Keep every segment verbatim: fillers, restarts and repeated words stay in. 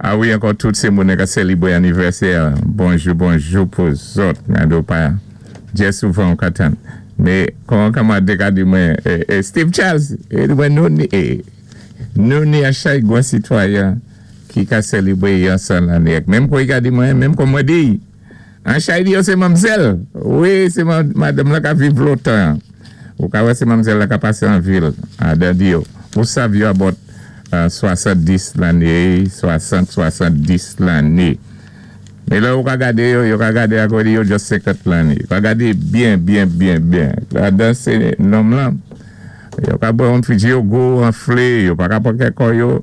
A wi, ankò tout sé moun ka sélibwé anivèsè. Bonjou, bonjou pou zòt. Mwen pa djé souvan ka tann. Mé kon kanmwad ka di mwen, Steve Charles, mwen nou ni, nou ni an chay gwan sitwayen ki ka sélibwé yon san lanné. Menm kon i ka di mwen, menm kon mwen di, an chay di yo sé manmzèl. Wi, sé madanm la ka viv lontan. Ou ka wè sé manmzèl la ka pasé an vil, an di yo. Ou sav yo about swasanndis lanné, swasant, swasanndis lanné. Mé la ou ka gadé yo, yo ka gadé ako di yo just senkant lanné. Yo ka gadé byen, byen, byen, byen. La dan sé nonm lan. Yo ka bwè an fiji yo gwo, anflé, yo pa ka pran kè kò yo.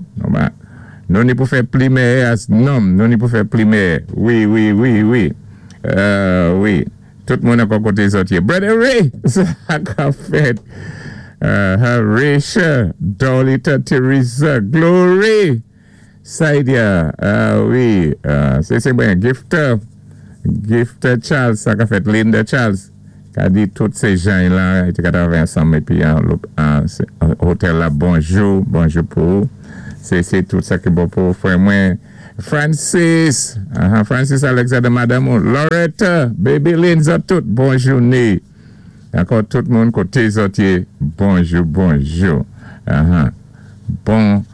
Nou ni pou fè pli mèyè as nonm, nou ni pou fè pli mèyè. Wi, wi, wi, wi. Wi. Tout moun ankò koté zòt yé. Brother Ray, sa ka fèt. Horatio, Dolita Teresa, Glory, Saidia, wi, sé sé mwen, Gifter, Gifter Charles, sa ka fèt, Linda Charles, ka di tout sé jan la, iti ka travay ansanm épi an otèl la, bonjou, bonjou pou, sé sé tout sa ki bon pou frè mwen, Francis, Francis Alexander, madame, Loretta, Baby Lynn, zòt tout, bonjou ni. Ankò tout moun koté zòt yé, bonjou, bonjou. Bon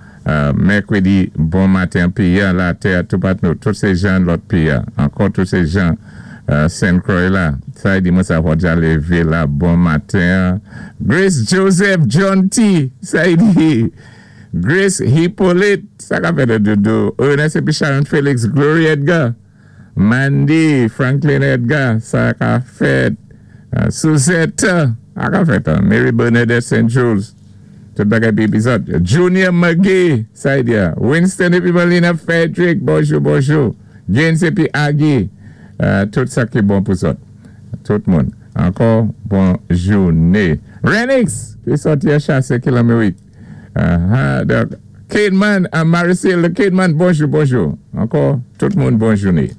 mèkwédi, bon maten piya, la tè tout pat nou, tout sé jan lòt piya. Ankò tout sé jan Saint Croix la. Sa di mwen sa wòdja lévé la, bon maten. Grace Joseph John T. Sa di Grace Hippolyte, sa ka fè de doudou. Ernest épi Sharon Felix, Glory Edgar. Mandy Franklin Edgar, sa ka fèt. Suzette, a ka fèt, Mary Bernadette Saint Jules, tout bagay pi epizòd. Junior McGee, sa di ya. Winston épi Melina Frederick, bonjou, bonjou. James épi Aggie, tout sa ki bon pou zòt. Tout moun. Ankò, bonjouné. Renix, ki sòti a chasé ki Lamérik. Cademan, Maricel, Cademan, bonjou, bonjou. Ankò, tout moun bonjouné.